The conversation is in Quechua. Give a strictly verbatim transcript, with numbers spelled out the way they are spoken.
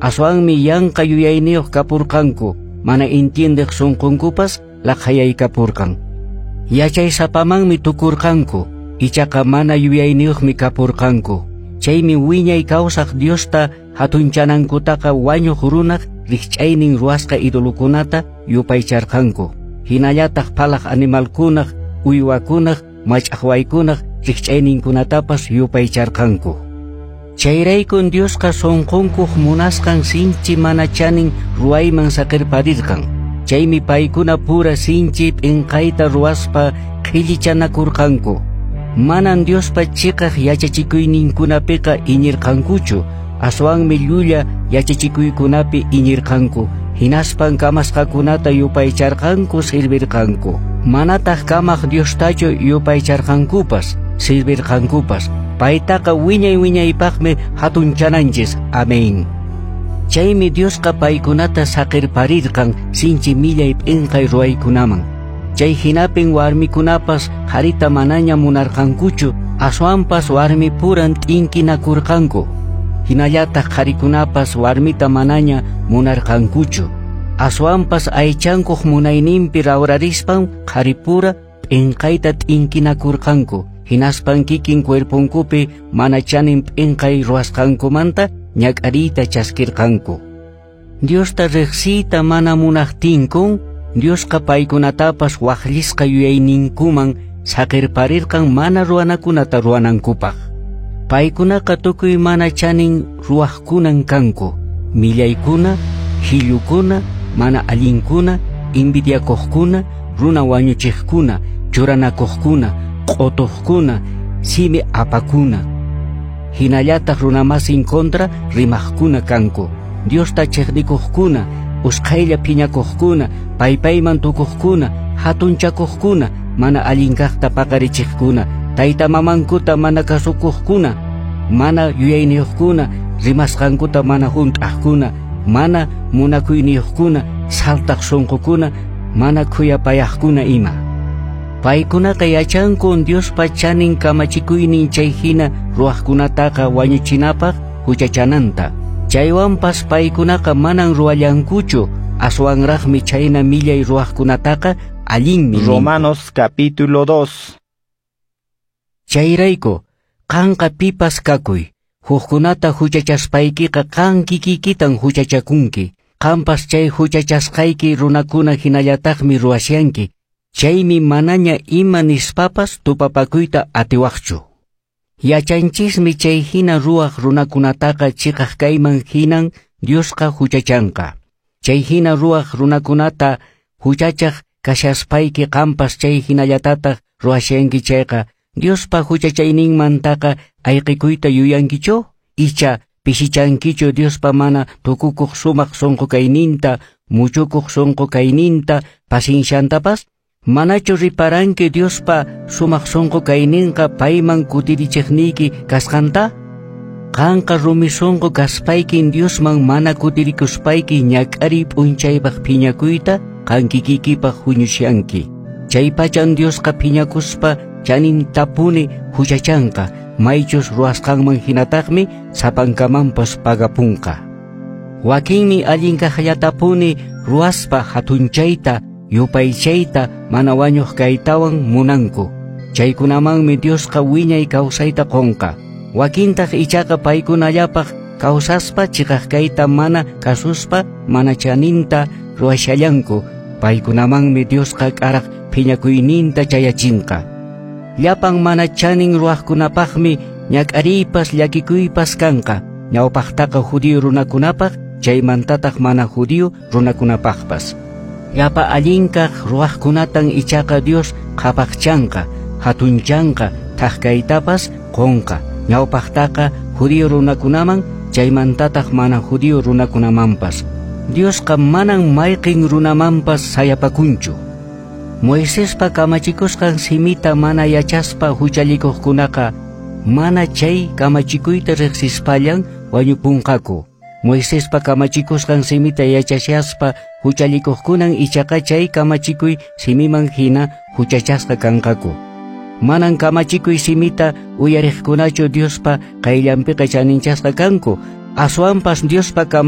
Aswanmi yanqa yuyayniyuq kapurqanku, mana entiendeq sunqunkupas laqhayaykapurqan. Yachaysapamanmi tukurqanku, ichaqa mana yuyayniyuqmi kapurqanku. Chaymi wiñay kawsaq Diosta hatunchanankutaqa wañuq runaq rikch'aynin ruwasqa idolokunata yupaycharqanku. Hinallataq phalaq animalkunaq, uywakunaq, mach'aqwaykunaq rikch'ayninkunatapas yupaycharqanku. Chayraykun Diosqa sunqunkuq munasqan sinchi mana chanin ruwayman saqirparirqan. Chaymi paykuna pura sinchi p'inqayta ruwaspa qhillichanakurqanku. Manan Diospa chiqaq yachachikuyninkunapiqa iñirqankuchu, aswanmi llulla yachachikuykunapi iñirqanku. Hinaspan kamasqakunata yupaycharqanku sirvirqanku. Manataq kamaq Diostachu yupaycharqankupas, sirvirqankupas. Paytaqa wiñay wiñaypaqmi hatunchananchis. Amén. Chaymi Diosqa paykunata saqirparirqan sinchi millay p'inqay ruwaykunaman. Chay hinapin warmikunapas qharita manaña munarqankuchu, aswanpas warmipuran t'inkinakurqanku. Hinallataq qharikunapas warmita manaña munarqankuchu, aswanpas aychankuq munayninpi rawrarispan qharipura p'inqayta t'inkinakurqanku. Hinaspan kikin cuerponkupi mana chanin p'inqay ruwasqankumanta ñak'ariyta chaskirqanku. Diosta riqsiyta mana munaqtinkun, Diosqa paykunatapas waqllisqa yuyayninkuman saqirparirqan mana ruwanakunata ruwanankupaq. Paykunaqa tukuy mana chanin ruwaqkunan kanku, millaykuna, hillukuna, mana allinkuna, envidiakuqkuna, runa wañuchiqkuna, churanakuqkuna, q'utuqkuna, simi apakuna. Hinallataq runamasin kontra rimaqkuna kanku, Diosta chiqnikuqkuna, usqhaylla phiñakuqkuna, paypayman tukuqkuna, hatunchakuqkuna, mana allin kaqta paqarichiqkuna, tayta mamankuta mana kasukuqkuna, mana yuyayniyuqkuna, rimasqankuta mana hunt'aqkuna, mana munakuyniyuqkuna, saltaq sunqukuna, mana khuyapayaqkuna ima. Paykunaqa yachankun Diospa chanin kamachikuynin chay hina ruwaqkunataqa wañuchinapaq huchachananta. Chaywanpas paykunaqa manan ruwallankuchu, aswanraqmi chayna millay ruwaqkunataqa allinmi ninku. Romanos capítulo dos. Chayrayku, qanqa pipas kakuy, hukkunata huchachaspaykiqa qan kikikitan huchachakunki. Qanpas chay huchachasqayki runakuna hinallataqmi ruwashanki. Chaymi manaña ima nispapas tupapakuyta atiwaqchu. Yachanchismi chay hina ruwaq runakunataqa chiqaq kayman hinan Diosqa huchachanqa. Chay hina ruwaq runakunata huchachaq kashaspayki qanpas chay hinallatataq ruwashanki chayqa, Diospa huchachayninmantaqa ayqikuyta yuyankichu? Icha pishichankichu Diospa mana tukukuq sumaq sunqu kayninta, muchukuq sunqu kayninta, pasinshantapas? Manachu riparanki Diospa sumaq sunqu kayninqa payman kutirichiqniyki kasqanta? Qanqa rumi sunqu kaspaykin Diosman mana kutirikuspayki ñak'ariy p'unchaypaq phiñakuyta qan kikikipaq huñushanki. Chaypachan Diosqa phiñakuspa chanintapuni huchachanqa, maychus ruwasqanman hinataqmi sapankamanpas pagapunqa. Wakinmi allin kaqllatapuni ruwaspa hatunchayta, yupaychayta, mana wañuq kaytawan munanku. Chaykunamanmi Diosqa wiñay kawsayta qunqa. Wakintaq ichaqa paykunallapaq kawsaspa chiqaq kayta mana kasuspa mana chaninta ruwashallanku. Paykunamanmi Diosqa k'araq phiñakuyninta chayachinqa. Llapan mana chanin ruwaqkunapaqmi ñak'ariypas llakikuypas kanqa. Ñawpaqtaqa judío runakunapaq, chaymantataq mana judío runakunapaqpas. Llapa allinkaq ruwaqkunatan ichaqa Dios qhapaqchanqa, hatunchanqa, thaqkaytapas qunqa. Ñawpaqtaqa judío runakunaman, chaymantataq mana judío runakunamanpas. Diosqa manan mayqin runamanpas sayapakunchu. Moisespa kamachikusqan simita mana yachaspa huchallikuqkunaqa mana chay kamachikuyta riqsispallan wañupunqaku. Moisespa kamachikusqan simita yachashaspa huchallikuqkunan ichaqa chay kamachikuy simiman hina huchachasqa kanqaku. Manan kamachikuy simita uyariqkunachu Diospa qayllanpiqa chaninchasqa kanku, aswanpas Diospa